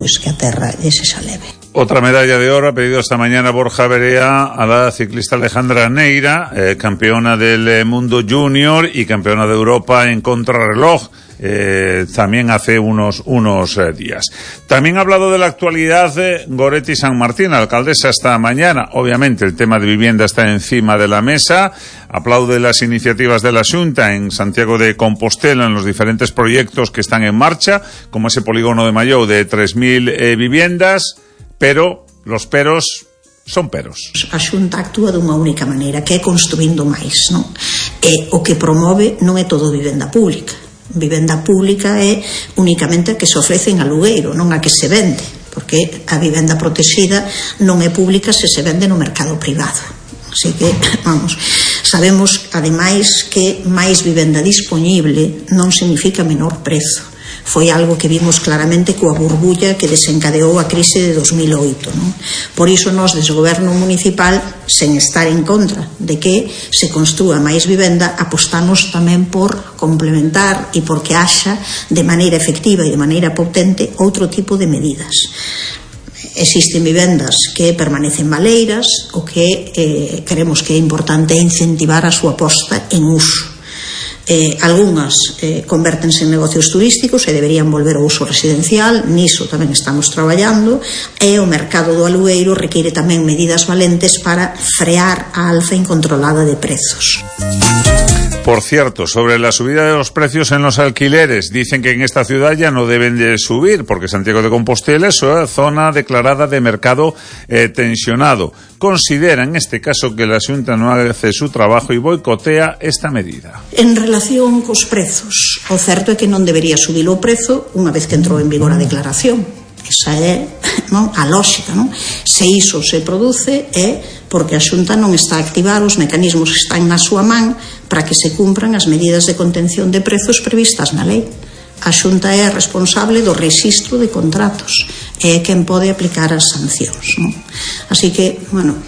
pues que a terra lle sexa leve. Otra medalla de oro ha pedido esta mañana Borja Berea a la ciclista Alejandra Neira, campeona del mundo junior y campeona de Europa en contrarreloj, también hace unos días. También ha hablado de la actualidad de Goretti San Martín, alcaldesa esta mañana. Obviamente el tema de vivienda está encima de la mesa. Aplaude las iniciativas de la Xunta en Santiago de Compostela en los diferentes proyectos que están en marcha, como ese polígono de Mallou de 3.000 viviendas. Pero los peros son peros. A Xunta actúa dunha única maneira, que é construindo máis, non? E o que promove non é todo vivenda pública. Vivenda pública é únicamente a que se ofrece en alugueiro, non a que se vende, porque a vivenda protexida non é pública se se vende no mercado privado. Así que, vamos, sabemos ademais que máis vivenda dispoñible non significa menor prezo. Foi algo que vimos claramente coa burbulla que desencadeou a crise de 2008, non? Por iso nós, desde o goberno municipal, sen estar en contra de que se construa máis vivenda, apostamos tamén por complementar e porque haxa de maneira efectiva e de maneira potente outro tipo de medidas. Existen vivendas que permanecen baleiras, o que creemos que é importante incentivar a súa posta en uso. Algunhas convértense en negocios turísticos e deberían volver ao uso residencial, niso tamén estamos traballando, e o mercado do alugueiro require tamén medidas valentes para frear a alza incontrolada de prezos. Por cierto, sobre la subida de los precios en los alquileres, dicen que en esta ciudad ya no deben de subir, porque Santiago de Compostela es una zona declarada de mercado tensionado. Considera en este caso que la Xunta no hace su trabajo y boicotea esta medida. En relación cos prezos, o certo é que non debería subir o prezo unha vez que entrou en vigor a declaración. Esa é, non, a lógica, non? Se iso se produce é porque a Xunta non está a activar os mecanismos que están na súa man para que se cumpran as medidas de contención de prezos previstas na lei. A Xunta é a responsable do rexistro de contratos e é quen pode aplicar as sancións, non? Así que, bueno,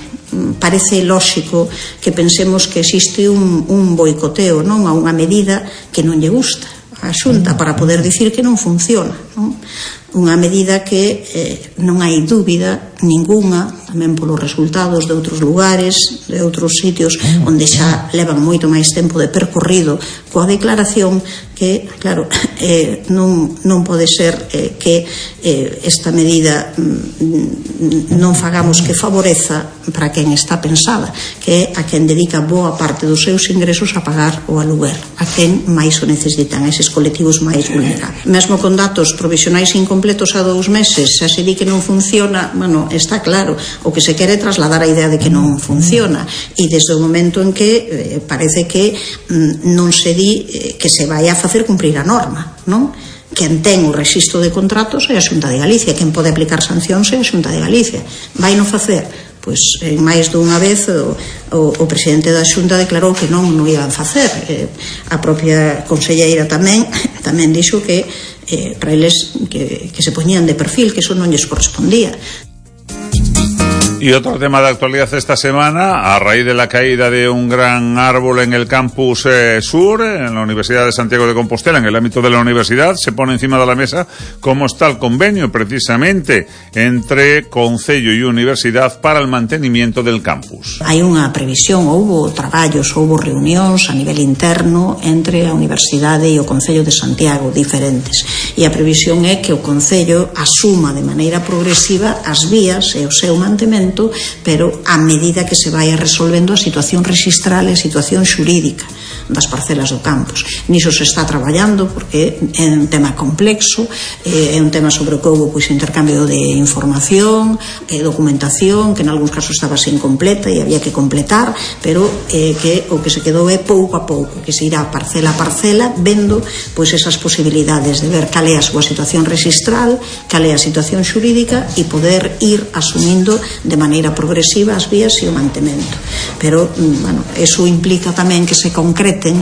parece lóxico que pensemos que existe un boicoteo, non, a unha medida que non lle gusta a Xunta para poder dicir que non funciona, non? Unha medida que non hai dúbida ningunha, tamén polos resultados de outros lugares, de outros sitios onde xa levan moito máis tempo de percorrido coa declaración, que, claro, non pode ser que esta medida non fagamos que favoreza para quen está pensada, que é a quen dedica boa parte dos seus ingresos a pagar o aluguer, a quen máis o necesitan, eses colectivos máis vulnerables. Mesmo con datos provisionais incompletos a 2 meses, xa se di que non funciona, bueno, está claro, o que se quere trasladar a idea de que non funciona, e desde o momento en que parece que non se di que se vai a facer cumprir a norma, non? Quen ten o rexistro de contratos é a Xunta de Galicia, quen pode aplicar sancións é a Xunta de Galicia. Vai non facer? Pois máis dunha vez o presidente da Xunta declarou que non iban facer. A propia conselleira tamén dixo que para eles que se poñían de perfil, que eso non lles correspondía. Y otro tema de actualidad esta semana, a raíz de la caída de un gran árbol en el campus sur, en la Universidad de Santiago de Compostela, en el ámbito de la universidad, se pone encima de la mesa cómo está el convenio precisamente entre Concello y Universidad para el mantenimiento del campus. Hai unha previsión, houbo traballos, houbo reunións a nivel interno entre a Universidade e o Concello de Santiago diferentes, e a previsión é que o Concello asuma de maneira progresiva as vías e o seu mantemento, pero a medida que se vai resolvendo a situación rexistral e a situación xurídica das parcelas do campus. Niso se está traballando porque é un tema complexo, é un tema sobre o que houve pois intercambio de información, documentación, que en algúns casos estaba sen completa e había que completar, pero que o que se quedou é pouco a pouco, que se irá parcela a parcela vendo pois esas posibilidades de ver cal é a súa situación rexistral, cal é a situación xurídica e poder ir asumindo de maneira progresiva as vías e o mantemento. Pero, bueno, eso implica tamén que se concreten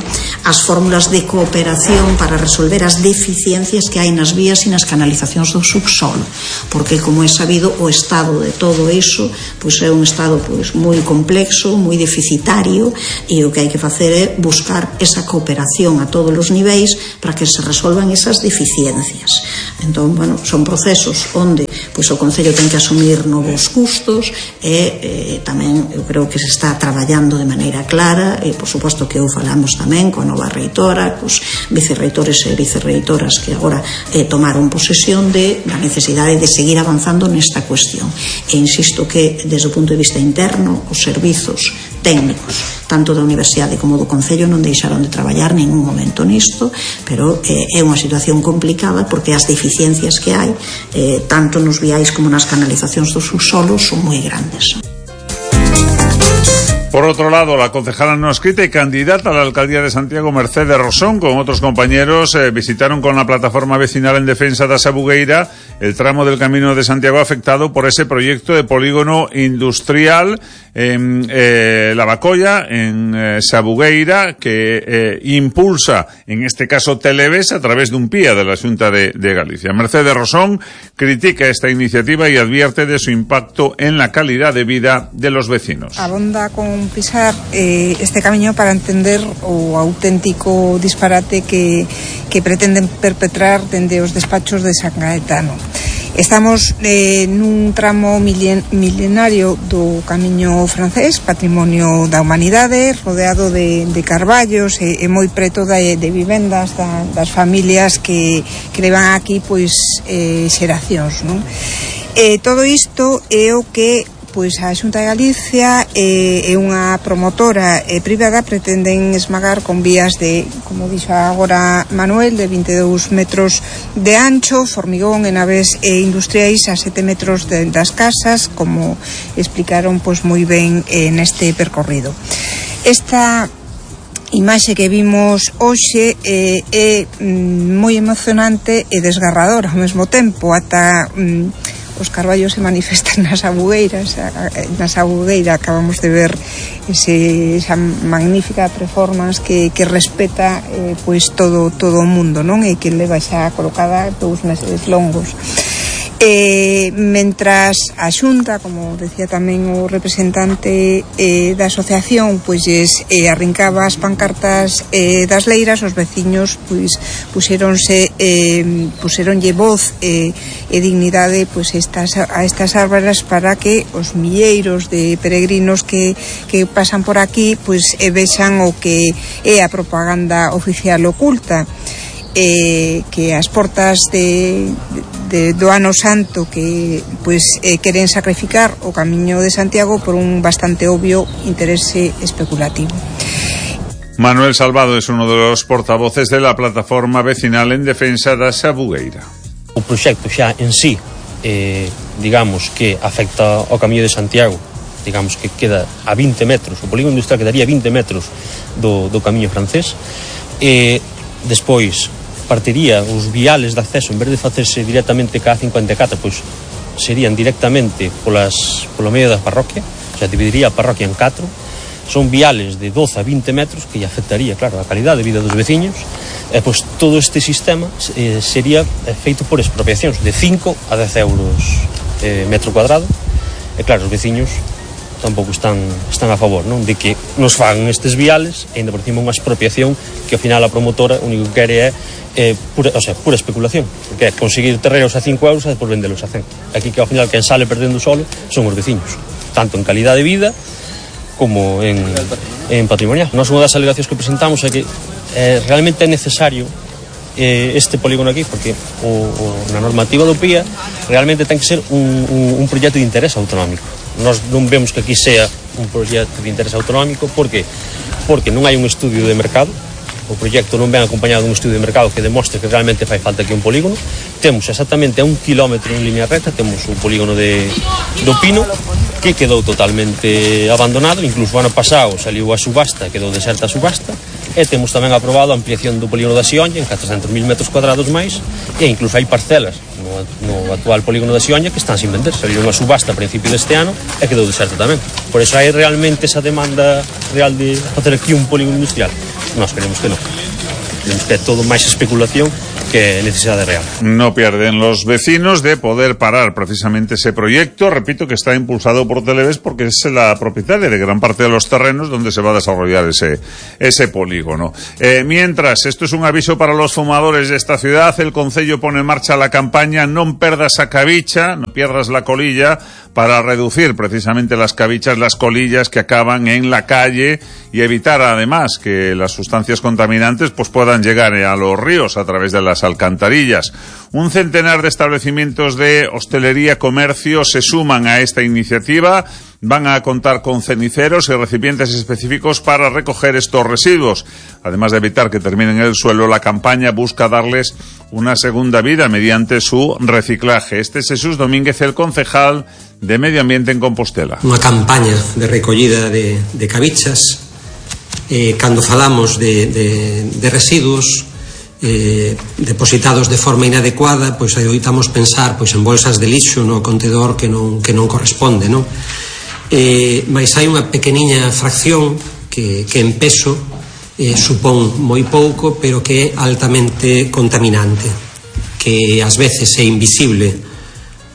as fórmulas de cooperación para resolver as deficiencias que hai nas vías e nas canalizacións do subsolo, porque, como é sabido, o estado de todo iso pois é un estado pois moi complexo, moi deficitario, e o que hai que facer é buscar esa cooperación a todos os niveis para que se resolvan esas deficiencias. Entón, bueno, son procesos onde pois o Concello ten que asumir novos custos e tamén eu creo que se está traballando de maneira clara e, por suposto, que eu falamos tamén coa nova reitora, cos vicerreitores e vicerreitoras que agora tomaron posesión da necesidade de seguir avanzando nesta cuestión. E insisto que, desde o punto de vista interno, os servizos técnicos tanto da Universidade como do Concello non deixaron de traballar ningún momento nisto, pero é unha situación complicada porque as deficiencias que hai tanto nos viais como nas canalizacións dos subsolos son moi grandes. Por otro lado, la concejala no escrita y candidata a la alcaldía de Santiago, Mercedes Rosón, con otros compañeros, visitaron con la plataforma vecinal en defensa de Sabugueira el tramo del Camino de Santiago afectado por ese proyecto de polígono industrial en Lavacolla, en Sabugueira, que impulsa, en este caso, Televes a través de un PIA de la Xunta de Galicia. Mercedes Rosón critica esta iniciativa y advierte de su impacto en la calidad de vida de los vecinos. Abonda con pisar este camiño para entender o auténtico disparate que pretenden perpetrar dende os despachos de San Gaetano. Estamos nun tramo milenario do camiño francés, patrimonio da humanidade, rodeado de carballos e moi preto de vivendas das familias que levan aquí pois xeracións, non? Todo isto é o que pois a Xunta de Galicia e unha promotora privada pretenden esmagar con vías de, como dixo agora Manuel, de 22 metros de ancho, formigón e naves industriais a 7 metros das casas, como explicaron pois moi ben neste percorrido. Esta imaxe que vimos hoxe é moi emocionante e desgarradora ao mesmo tempo, ata os carballos se manifestan nas Sabugueiras. Na Sabugueira acabamos de ver esa magnífica performance que respeta pois todo o mundo, non? E que leva xa colocada 2 meses longos. Mentras a Xunta, como decía tamén o representante da asociación, pois arrincaba as pancartas das leiras, os veciños pois puxeronlle voz e dignidade pois a estas árboles para que os milleiros de peregrinos que pasan por aquí pois vexan o que é a propaganda oficial oculta. Que as portas do Ano Santo que pois queren sacrificar o camiño de Santiago por un bastante obvio interese especulativo. Manuel Salvado es uno de los portavoces de la plataforma vecinal en defensa da Sabugueira. O proxecto xa en sí digamos que afecta ao camiño de Santiago, digamos que queda a 20 metros, o polígono industrial quedaría a 20 metros do camiño francés, e despois partiría os viales de acceso, en vez de facerse directamente ca A54, pois serían directamente polo medio da parroquia, o sea, dividiría a parroquia en 4. Son viales de 12 a 20 metros que afectaría, claro, a calidade de vida dos veciños, e pois todo este sistema sería feito por expropiacións de 5 a 10 euros metro cuadrado, e claro, os veciños tampouco están a favor, non? De que nos fagan estes viales e ainda por cima unha expropiación que ao final a promotora o único que quere é pura especulación, porque é conseguir terrenos a 5 euros e depois vendelos a 100. Aquí que ao final quen sale perdendo o solo son os veciños, tanto en calidade de vida como en patrimonial. Nós unha das alegacións que presentamos é que realmente é necesario este polígono aquí, porque na normativa do PIA realmente ten que ser un proxecto de interés autonómico. Nós non vemos que aquí sea un proxecto de interés autonómico. Por que? Porque non hai un estudio de mercado. O proxecto non ven acompañado dun estudio de mercado que demostre que realmente fai falta aquí un polígono. Temos exactamente a 1 kilómetro en línea recta, temos un polígono do Pino que quedou totalmente abandonado, incluso o ano pasado saliu a subasta, quedou deserta a subasta, e temos tamén aprobado a ampliación do polígono da Sionlla en 400.000 metros cuadrados máis, e incluso hai parcelas no no actual polígono da Xioña, que están sin vender. Saliu unha subasta a principio deste ano e quedou deserto tamén. Por eso hai realmente esa demanda real de facer aquí un polígono industrial. Nós queremos que non. Queremos que é todo máis especulación que necesidade real. No pierden los vecinos de poder parar precisamente ese proyecto, repito, que está impulsado por Televes porque es la propietaria de gran parte de los terrenos donde se va a desarrollar ese polígono. Mientras, esto es un aviso para los fumadores de esta ciudad, el Concello pone en marcha la campaña Non perdas a cabicha, no pierdas la colilla, para reducir precisamente las cabichas, las colillas que acaban en la calle y evitar además que las sustancias contaminantes pues puedan llegar a los ríos a través de las alcantarillas. Un centenar de establecimientos de hostelería, comercio se suman a esta iniciativa. Van a contar con ceniceros y recipientes específicos para recoger estos residuos. Además de evitar que terminen en el suelo, la campaña busca darles una segunda vida mediante su reciclaje. Este es Jesús Domínguez, el concejal de Medio Ambiente en Compostela. Unha campaña de recollida de cabichas. Cando falamos de residuos depositados de forma inadecuada, pois oitamos pensar pois en bolsas de lixo no contedor que non corresponde, non? Mais hai unha pequeniña fracción que en peso supón moi pouco, pero que é altamente contaminante, que ás veces é invisible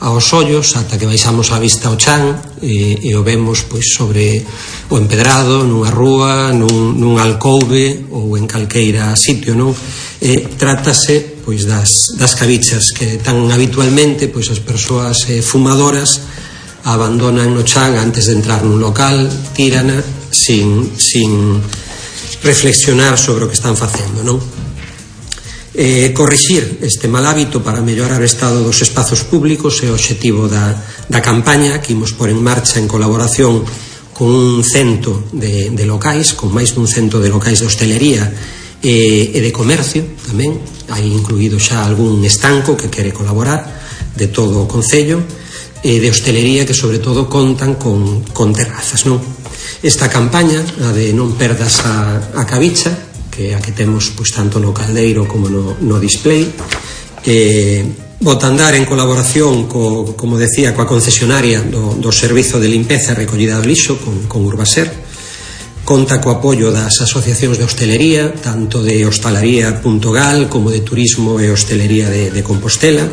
aos ollos ata que baixamos a vista ao chan e o vemos pois sobre o empedrado, nunha rúa, nun alcouve ou en calqueira sitio, non? Trátase pois das cabichas que tan habitualmente pois as persoas fumadoras abandonan no chan antes de entrar nun local, tírana sin reflexionar sobre o que están facendo, non? Corrixir este mal hábito para mellorar o estado dos espazos públicos é o obxectivo da campaña que imos por en marcha en colaboración con un cento de locais, con máis dun cento de locais de hostelería e de comercio tamén. Hai incluído xa algún estanco que quere colaborar de todo o Concello, de hostelería que sobre todo contan con terrazas, non? Esta campaña, a de non perdas a cabicha, que a que temos pois tanto no caldeiro como no display, bota a andar en colaboración como decía, coa concesionaria do servizo de limpeza e recollida do lixo con Urbaser. Conta co apoio das asociacións de hostelería, tanto de Hostalaría.gal como de Turismo e Hostelería de Compostela.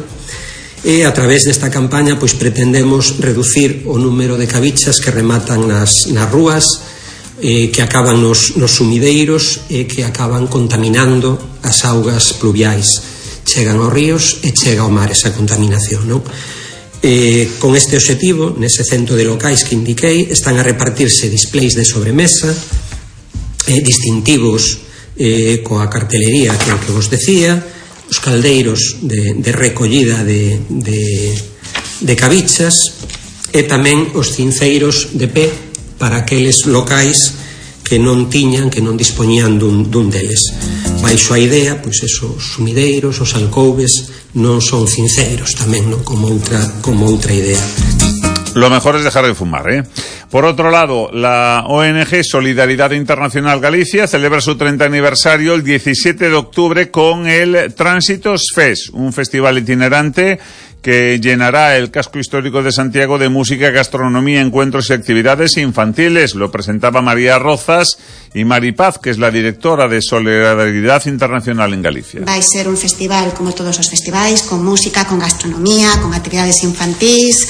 E a través desta campaña pois pretendemos reducir o número de cabichas que rematan nas rúas, que acaban nos sumideiros e que acaban contaminando as augas pluviais. Chegan aos ríos e chega ao mar esa contaminación, non? Con este obxectivo, nese cento de locais que indiquei, están a repartirse displays de sobremesa, distintivos coa cartelería que vos decía, os caldeiros de recollida de cabichas e tamén os cinceiros de pé para aqueles locais que non dispoñían dun deles. Baixo a idea, pois esos sumideiros, os alcoubes non son cinceiros tamén, non? Como outra idea. Lo mejor es dejar de fumar, ¿eh? Por otro lado, la ONG Solidaridad Internacional Galicia celebra su 30 aniversario el 17 de octubre con el Tránsitos Fest, un festival itinerante que llenará el casco histórico de Santiago de música, gastronomía, encuentros y actividades infantiles. Lo presentaba María Rozas y Maripaz, que es la directora de Solidaridad Internacional en Galicia. Vai ser un festival como todos os festivais, con música, con gastronomía, con actividades infantís,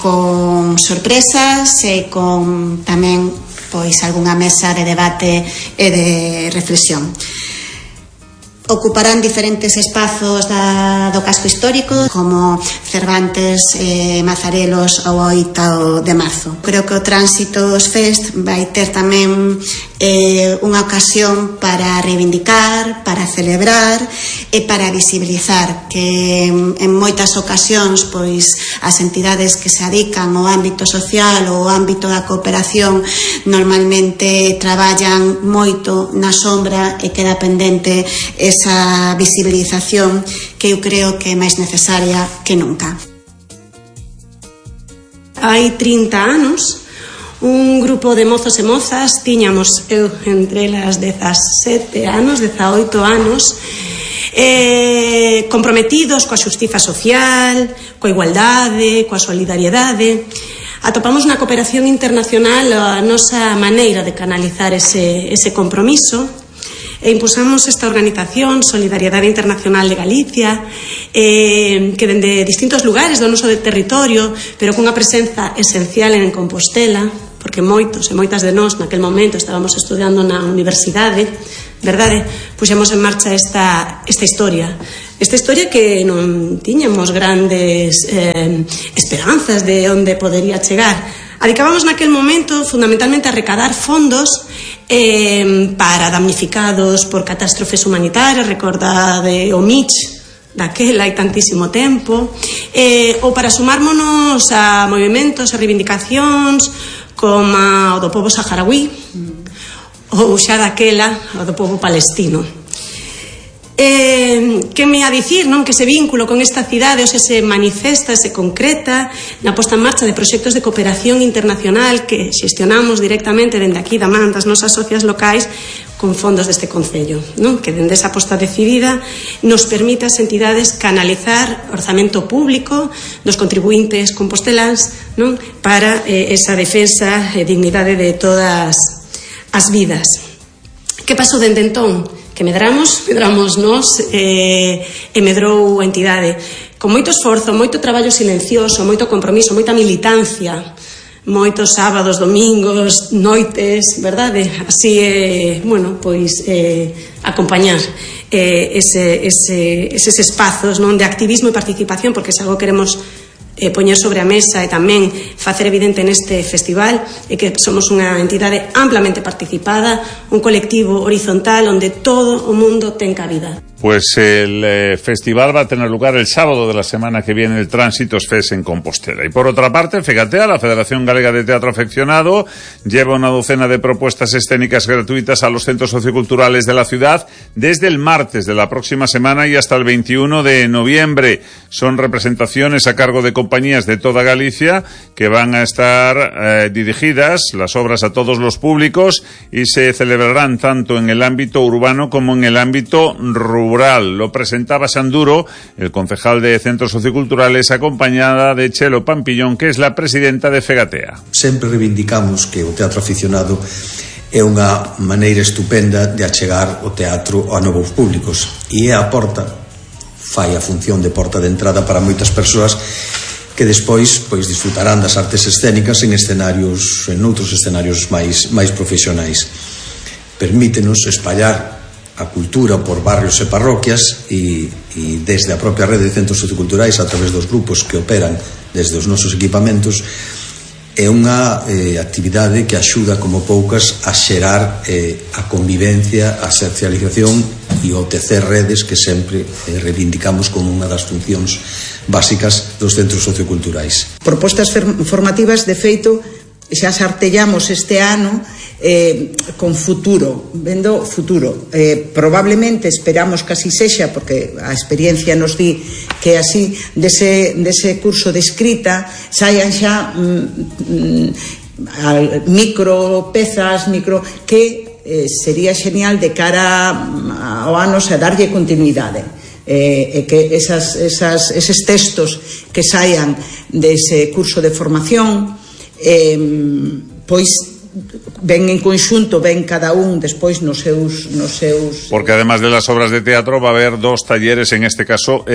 con sorpresas e con tamén pois algunha mesa de debate e de reflexión. Ocuparán diferentes espazos do casco histórico, como Cervantes, Mazarelos ou 8 de marzo. Creo que o Tránsitos Fest vai ter tamén unha ocasión para reivindicar, para celebrar e para visibilizar que en moitas ocasións pois as entidades que se adican ao ámbito social ou ao ámbito da cooperación normalmente traballan moito na sombra e queda pendente esa visibilización que eu creo que é máis necesaria que nunca. Hai 30 anos un grupo de mozos e mozas, tiñamos eu entre elas 17 anos, 18 anos, comprometidos coa xustiza social, coa igualdade, coa solidariedade. Atopamos na cooperación internacional a nosa maneira de canalizar ese compromiso e impulsamos esta organización Solidariedade Internacional de Galicia que dende distintos lugares do noso territorio, pero cunha presenza esencial en Compostela, porque moitos e moitas de nós naquel momento estábamos estudando na universidade, verdade? Puxemos en marcha esta historia que non tiñamos grandes esperanzas de onde podería chegar. Adicábamos naquel momento fundamentalmente a recaudar fondos para damnificados por catástrofes humanitarias, recordade o Mitch daquela hai tantísimo tempo, ou para sumármonos a movimentos e reivindicacións como o do povo saharaui ou xa daquela o do povo palestino. Que me a dicir, non? Que ese vínculo con esta cidade se manifesta, se concreta na posta en marcha de proxectos de cooperación internacional que xestionamos directamente dende aquí da man das nosas socias locais con fondos deste Concello, non? Que dende esa posta decidida nos permite as entidades canalizar orzamento público dos contribuintes composteláns, non? Para esa defensa e dignidade de todas as vidas. Que pasou dende entón? Que medramos nós e medrou a entidade con moito esforzo, moito traballo silencioso, moito compromiso, moita militancia, moitos sábados, domingos, noites, verdade? Así acompañar eses espazos, non, de activismo e participación, porque se algo queremos poñer sobre a mesa e tamén facer evidente neste festival é que somos unha entidade amplamente participada, un colectivo horizontal onde todo o mundo ten cabida. Pues el festival va a tener lugar el sábado de la semana que viene, el Tránsitos FES en Compostela. Y por otra parte, FEGATEA, la Federación Galega de Teatro Afeccionado, lleva una docena de propuestas escénicas gratuitas a los centros socioculturales de la ciudad desde el martes de la próxima semana y hasta el 21 de noviembre. Son representaciones a cargo de compañías de toda Galicia que van a estar dirigidas, las obras, a todos los públicos, y se celebrarán tanto en el ámbito urbano como en el ámbito rural. Lo presentaba Sanduro, el concejal de Centros Socioculturales, acompañada de Chelo Pampillón, que es la presidenta de FEGATEA. Sempre reivindicamos que o teatro aficionado é unha maneira estupenda de achegar o teatro a novos públicos, e é a porta, fai a función de porta de entrada para moitas persoas que despois disfrutarán das artes escénicas en outros escenarios máis profesionais. Permítenos espallar a cultura por barrios e parroquias e desde a propia rede de centros socioculturais a través dos grupos que operan desde os nosos equipamentos é unha actividade que axuda como poucas a xerar a convivencia, a socialización e o tecer redes que sempre reivindicamos como unha das funcións básicas dos centros socioculturais. Propostas formativas, de feito, xa sartellamos este ano con futuro, vendo futuro. Probablemente esperamos que así sexa, porque a experiencia nos di que así dese curso de escrita saian xa micropezas que sería xenial de cara ao ano a darlle continuidade. E que eses textos que saian dese curso de formación pois ven en conxunto, ven cada un despois nos seus... Porque además de las obras de teatro va a haber 2 talleres, en este caso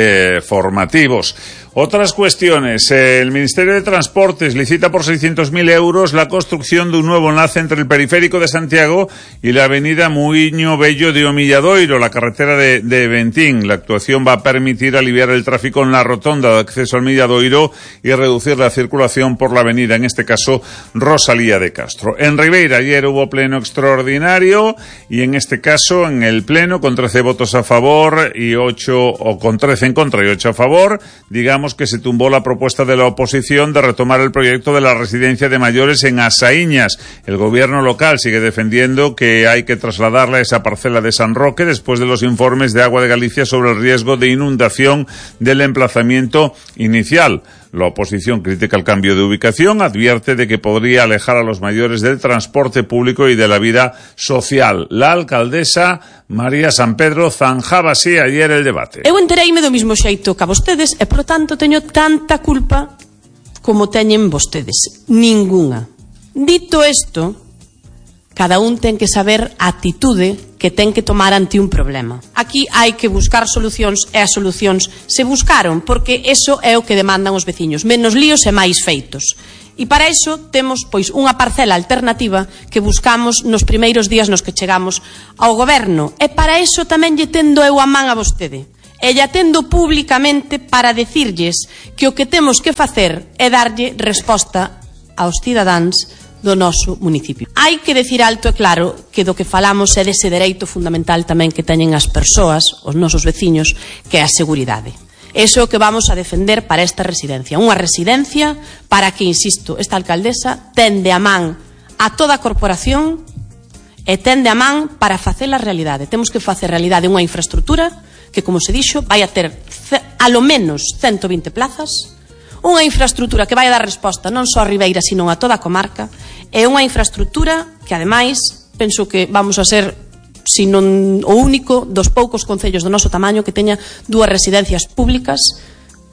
formativos. Otras cuestiones. El Ministerio de Transportes licita por 600.000 euros la construcción de un nuevo enlace entre el periférico de Santiago y la avenida Muiño Bello de Omilladoiro, la carretera de Ventín. La actuación va a permitir aliviar el tráfico en la rotonda de acceso al Milladoiro y reducir la circulación por la avenida, en este caso Rosalía de Castro. En Ribeira ayer hubo pleno extraordinario y en este caso en el pleno con 13 votos a favor y 8, o con 13 en contra y 8 a favor, digamos que se tumbó la propuesta de la oposición de retomar el proyecto de la residencia de mayores en Asaíñas. El gobierno local sigue defendiendo que hay que trasladarle a esa parcela de San Roque después de los informes de Agua de Galicia sobre el riesgo de inundación del emplazamiento inicial. La oposición critica el cambio de ubicación, advierte de que podría alejar a los mayores del transporte público y de la vida social. La alcaldesa María San Pedro zanjaba así ayer el debate. Eu entereime do mismo xeito que a vostedes e, por tanto, teño tanta culpa como teñen vostedes. Ninguna. Dito isto, cada un ten que saber a atitude que ten que tomar ante un problema. Aquí hai que buscar solucións e as solucións se buscaron, porque eso é o que demandan os veciños, menos líos e máis feitos. E para iso temos pois unha parcela alternativa que buscamos nos primeiros días nos que chegamos ao goberno. E para iso tamén lle tendo eu a man a vostede. E lle atendo públicamente para decirlles que o que temos que facer é darlle resposta aos cidadáns do noso municipio. Hai que decir alto e claro que do que falamos é dese dereito fundamental tamén que teñen as persoas, os nosos veciños, que é a seguridade. Eso é o que vamos a defender para esta residencia. Unha residencia para que, insisto, esta alcaldesa tende a man a toda a corporación e tende a man para facer a realidade. Temos que facer realidade unha infraestructura que, como se dixo, vai a ter a lo menos 120 plazas, unha infraestructura que vai a dar resposta non só a Ribeira, sino a toda a comarca, e unha infraestructura que, ademais, penso que vamos a ser, se non o único, dos poucos concellos do noso tamaño que teña dúas residencias públicas,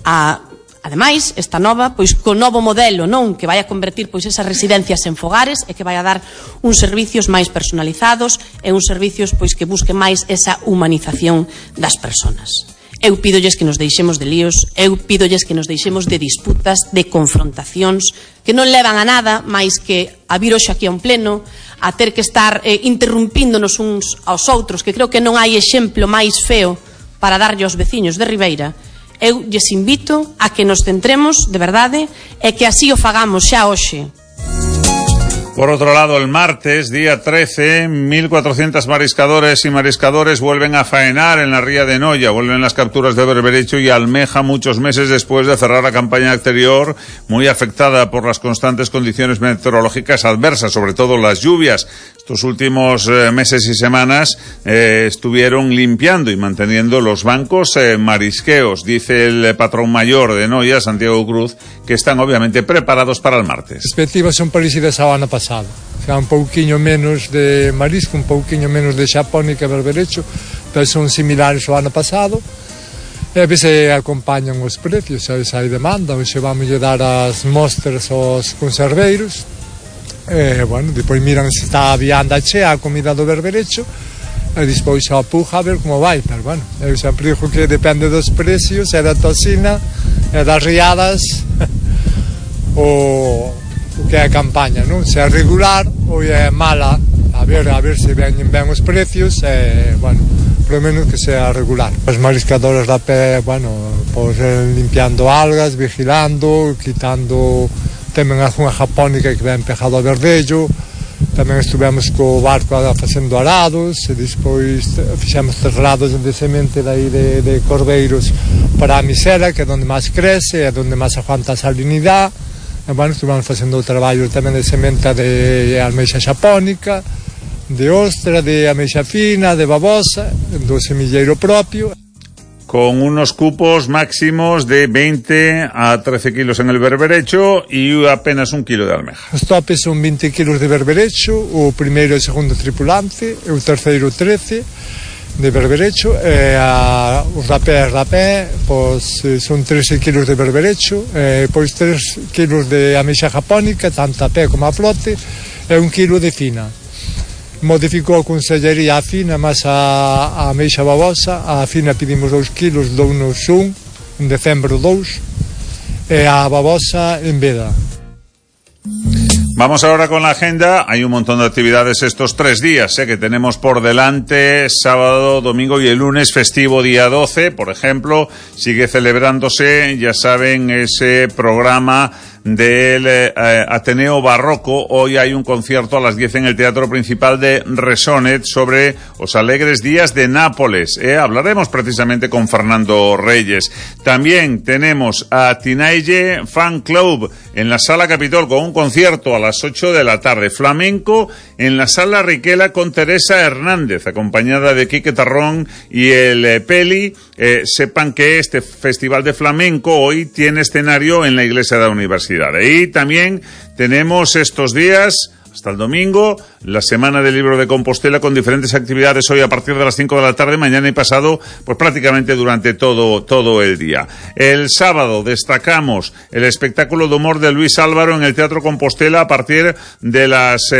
ademais, esta nova, pois co novo modelo, non, que vai a convertir pois esas residencias en fogares e que vai a dar uns servicios máis personalizados e uns servicios pois que busquen máis esa humanización das persoas. Eu pídolles que nos deixemos de líos, eu pídolles que nos deixemos de disputas, de confrontacións, que non levan a nada máis que a vir hoxe aquí a un pleno, a ter que estar interrumpíndonos uns aos outros, que creo que non hai exemplo máis feo para darlle aos veciños de Ribeira. Eu lles invito a que nos centremos, de verdade, e que así o fagamos xa hoxe. Por otro lado, el martes, día 13, 1.400 mariscadores y mariscadores vuelven a faenar en la ría de Noia. Vuelven las capturas de berberecho y almeja muchos meses después de cerrar la campaña exterior, muy afectada por las constantes condiciones meteorológicas adversas, sobre todo las lluvias. Estos últimos meses y semanas estuvieron limpiando y manteniendo los bancos marisqueos. Dice el patrón mayor de Noia, Santiago Cruz, que están obviamente preparados para el martes. As perspectivas son parecidas ao ano pasado. Xa un pouquiño menos de marisco, un pouquiño menos de xapónica e berberecho, pero son similares ao ano pasado. E a veces acompañan os precios, sabes, hai demanda, hoxe vamos a dar as mostras aos conserveiros. Bueno, depois miran se está a vianda chea a comida do berberecho e despois a puja a ver como vai, pero bueno, eu sempre digo que depende dos precios e da tocina e das riadas o que é a campaña, non? Se é regular ou é mala, a ver se veñen ben os precios e, bueno, polo menos que sea regular. Os mariscadores da pé, bueno, pois limpiando algas, vigilando, quitando tamén algunha japónica que ven pegado a verdello, tamén estivemos co barco facendo arados e despois fixemos traslados de semente dai de Cordeiros para a Misera, que é onde máis crece, é onde máis aguanta a salinidade. E, bueno, estivemos facendo o traballo tamén de semente de almeixa xapónica, de ostra, de ameixa fina, de babosa, do semilleiro propio. Con unos cupos máximos de 20 a 13 kilos en el berberecho y apenas 1 kilo de almeja. Os topes son 20 kilos de berberecho, o primeiro e o segundo tripulante, e o terceiro 13 de berberecho, e os rapés pois, son 13 kilos de berberecho, e pois 3 kilos de ameixa japónica, tanto a pé como a flote, e 1 kilo de fina. Modificou a consellería a fina, mas a ameixa babosa, a fina pedimos 2 kilos, dounos 1, en decembro 2, e a babosa en veda. Vamos ahora con la agenda. Hay un montón de actividades estos 3 días que tenemos por delante, sábado, domingo y el lunes festivo día 12, por ejemplo, sigue celebrándose, ya saben, ese programa del Ateneo Barroco. Hoy hay un concierto a las 10 en el Teatro Principal de Resonet sobre Os Alegres Días de Nápoles. Hablaremos precisamente con Fernando Reyes. También tenemos a Tinaille Fan Club en la Sala Capitol con un concierto a las 8 de la tarde. Flamenco en la Sala Riquela con Teresa Hernández, acompañada de Quique Tarrón y el Peli. Sepan que este festival de flamenco hoy tiene escenario en la iglesia de la universidad. Y también tenemos estos días, hasta el domingo, la Semana del Libro de Compostela con diferentes actividades hoy a partir de las 5 de la tarde, mañana y pasado, pues prácticamente durante todo el día. El sábado destacamos el espectáculo de humor de Luis Álvaro en el Teatro Compostela a partir de las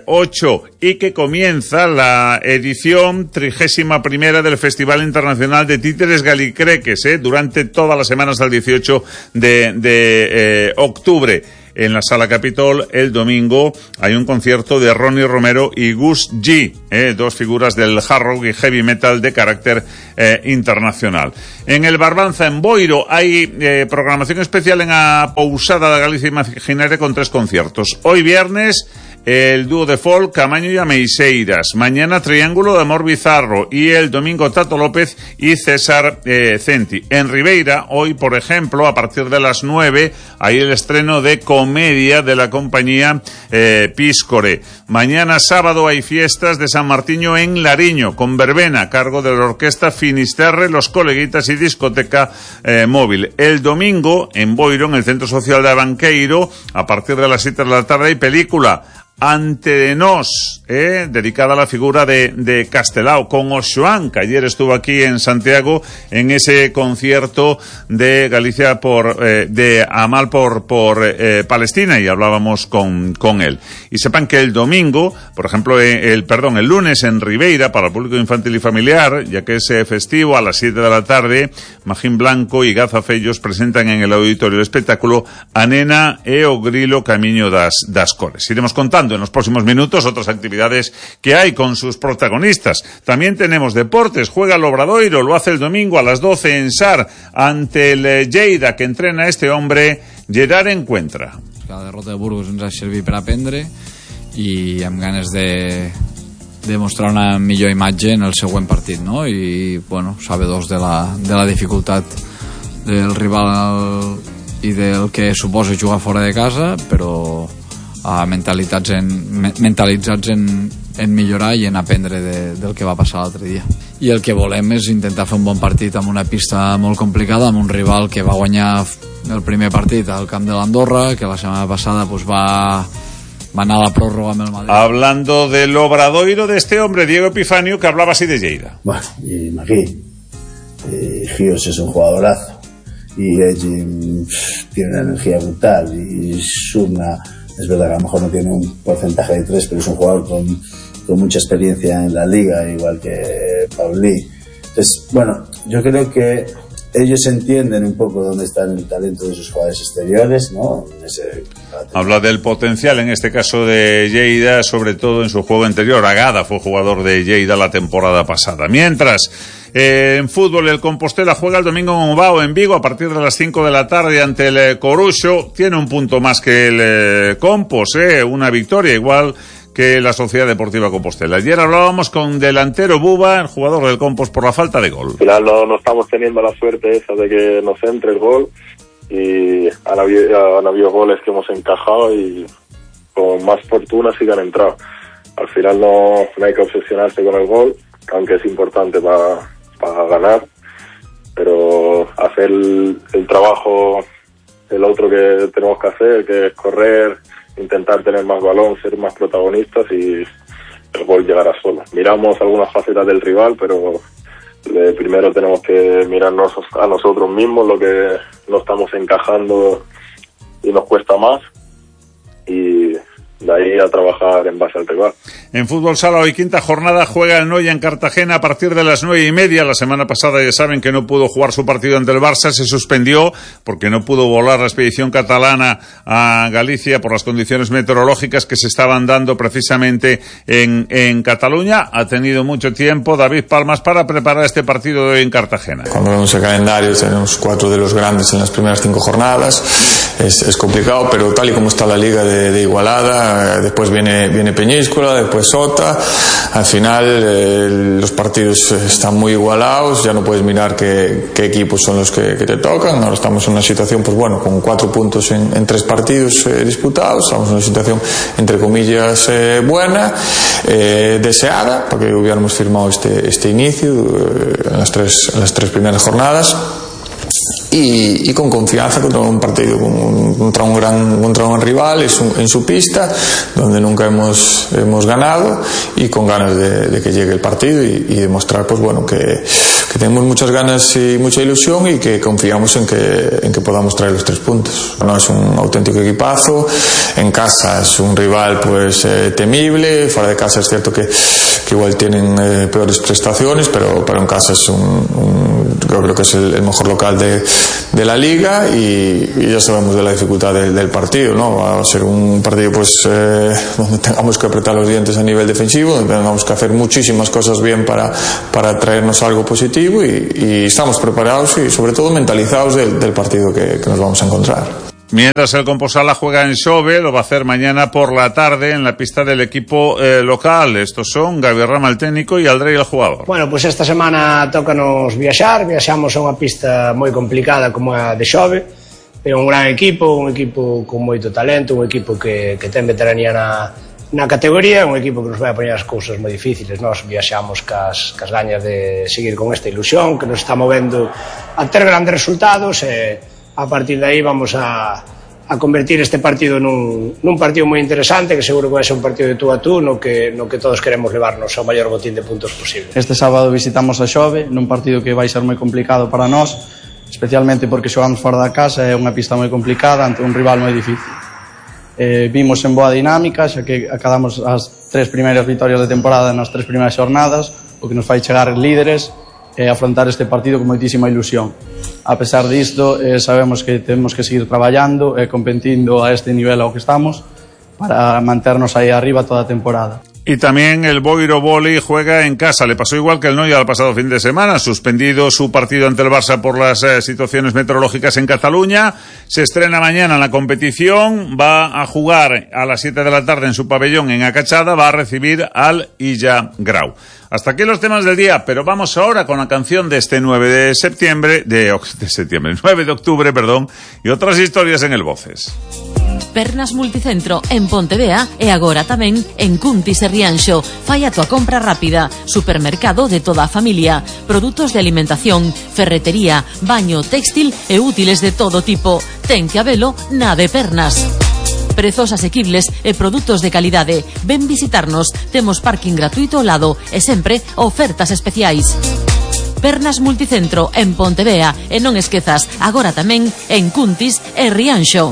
8 y que comienza la edición 31ª del Festival Internacional de Títeres Galicreques, durante todas las semanas al 18 de octubre. En la Sala Capitol, el domingo, hay un concierto de Ronnie Romero y Gus G, dos figuras del hard rock y heavy metal de carácter internacional. En el Barbanza, en Boiro, hay programación especial en a Pousada de Galicia Imaginaria con 3 conciertos. Hoy viernes, el dúo de folk Camaño y Ameixeiras. Mañana Triángulo de Amor Bizarro. Y el domingo Tato López y César Centi. En Ribeira, hoy, por ejemplo, a partir de las 9, hay el estreno de comedia de la compañía Piscore. Mañana sábado hay fiestas de San Martiño en Lariño, con verbena a cargo de la orquesta Finisterre, Los Coleguitas y discoteca móvil. El domingo, en Boiro, en el Centro Social de Abanqueiro, a partir de las 7 de la tarde, hay película Ante de Nós, dedicada a la figura de Castelao, con Oxoán, que ayer estuvo aquí en Santiago en ese concierto de Galicia de Amal por Palestina, y hablábamos con él. Y sepan que el domingo, por ejemplo, el lunes en Ribeira, para el público infantil y familiar, ya que es festivo, a las 7 de la tarde, Magín Blanco y Gaza Fellos presentan en el auditorio el espectáculo A Nena e o Grilo Camiño das Cores. Iremos contando en los próximos minutos otras actividades que hay con sus protagonistas. También tenemos deportes. Juega el Obradoiro, lo hace el domingo a las 12 en Sar ante el Lleida, que entrena a este hombre, Gerard Encuentra. La derrota de Burgos ens ha servit per aprendre i amb ganes de mostrar una millor imatge en el següent partit, no? I bueno, sabedors de la dificultat del rival i del que suposa jugar fora de casa, però mentalitzats en millorar i en aprendre del que va passar l'altre dia. I el que volem és intentar fer un bon partit amb una pista molt complicada, amb un rival que va guanyar el primer partit al camp de l'Andorra, que la setmana passada pues, va anar a la pròrroga amb el Madrid. Hablando del Obradoiro de este hombre, Diego Epifanio, que hablaba así de Lleida. Bueno, y Magui, Gios es un jugadorazo y tiene una energía brutal y Sumna. Es verdad que a lo mejor no tiene un porcentaje de 3, pero es un jugador con mucha experiencia en la liga, igual que Pauli. Entonces, bueno, yo creo que ellos entienden un poco dónde está el talento de sus jugadores exteriores, ¿no? Habla del potencial, en este caso de Lleida, sobre todo en su juego interior. Agada fue jugador de Lleida la temporada pasada. Mientras, en fútbol, el Compostela juega el domingo en Bilbao, en Vigo, a partir de las 5 de la tarde ante el Coruxo. Tiene un punto más que el Compos, una victoria igual que la Sociedad Deportiva Compostela. Ayer hablábamos con delantero Buba, el jugador del Compos, por la falta de gol. Al final no estamos teniendo la suerte esa de que nos entre el gol, y han habido goles que hemos encajado y con más fortuna sí que han entrado. Al final no hay que obsesionarse con el gol, aunque es importante para ganar, pero hacer el trabajo, el otro que tenemos que hacer, que es correr, intentar tener más balón, ser más protagonistas, y el gol llegará solo. Miramos algunas facetas del rival, pero primero tenemos que mirarnos a nosotros mismos, lo que no estamos encajando y nos cuesta más, y de ahí a trabajar en base al rival. En fútbol sala, hoy quinta jornada, juega el Noia en Cartagena a partir de las 9:30. La semana pasada ya saben que no pudo jugar su partido ante el Barça, se suspendió porque no pudo volar la expedición catalana a Galicia por las condiciones meteorológicas que se estaban dando precisamente en Cataluña. Ha tenido mucho tiempo David Palmas para preparar este partido de hoy en Cartagena. Cuando vemos el calendario tenemos 4 de los grandes en las primeras 5 jornadas. es complicado, pero tal y como está la liga de igualada, después viene Peñíscola, después Sota, al final los partidos están muy igualados, ya no puedes mirar qué equipos son los que te tocan. Ahora estamos en una situación, pues bueno, con 4 puntos en 3 partidos disputados, estamos en una situación entre comillas buena, deseada, porque hubiéramos firmado este inicio en las tres primeras jornadas. Y con confianza contra un partido, contra un gran rival en su pista, donde nunca hemos ganado, y con ganas de que llegue el partido y demostrar, pues bueno, que tenemos muchas ganas y mucha ilusión, y que confiamos en que podamos traer los 3 puntos. No, es un auténtico equipazo. En casa es un rival pues temible, fuera de casa es cierto que igual tienen peores prestaciones, pero en casa es yo creo que es el mejor local de la liga, y ya sabemos de la dificultad del partido, ¿no? Va a ser un partido pues donde tengamos que apretar los dientes a nivel defensivo, donde tengamos que hacer muchísimas cosas bien para traernos algo positivo, y estamos preparados y sobre todo mentalizados del partido que nos vamos a encontrar. Mientras el Composala juega en Xove, lo va a hacer mañana por la tarde en la pista del equipo local. Estos son Gaby Rama, el técnico, y Aldrey, el jugador. Bueno, pues esta semana tócanos viaxamos a unha pista moi complicada como a de Xove, pero un gran equipo, con moito talento, un equipo que ten veteranía na categoría, un equipo que nos vai a poñer as cousas moi difíciles. Nós viaxamos cas gañas de seguir con esta ilusión que nos está movendo a ter grandes resultados, e a partir de aí vamos a convertir este partido nun partido moi interesante, que seguro que vai ser un partido de tú a tú, no que todos queremos levarnos ao maior botín de puntos posible. Este sábado visitamos a Xove, nun partido que vai ser moi complicado para nós, especialmente porque xogamos fora da casa, é unha pista moi complicada ante un rival moi difícil. Vimos en boa dinámica, xa que acabamos as 3 primeiras vitorias de temporada nas 3 primeiras xornadas, o que nos fai chegar líderes e afrontar este partido con moitísima ilusión. A pesar disto, sabemos que temos que seguir traballando e competindo a este nivel ao que estamos para manternos aí arriba toda a temporada. Y también el Boiro Vóley juega en casa. Le pasó igual que el Noia el pasado fin de semana. Suspendido su partido ante el Barça por las situaciones meteorológicas en Cataluña. Se estrena mañana en la competición. Va a jugar a las 7 de la tarde en su pabellón en Acachada. Va a recibir al Illa Grau. Hasta aquí los temas del día, pero vamos ahora con la canción de este 9 de octubre, y otras historias en el Voces. Pernas Multicentro en Pontevea e agora tamén en Cuntis e Rianxo. Fai a tua compra rápida. Supermercado de toda a familia. Produtos de alimentación, ferretería, baño, textil e útiles de todo tipo. Ten que habelo na de Pernas. Prezos asequibles e produtos de calidade. Ven visitarnos. Temos parking gratuito ao lado e sempre ofertas especiais. Pernas Multicentro en Pontevea e non esquezas, agora tamén en Cuntis e Rianxo.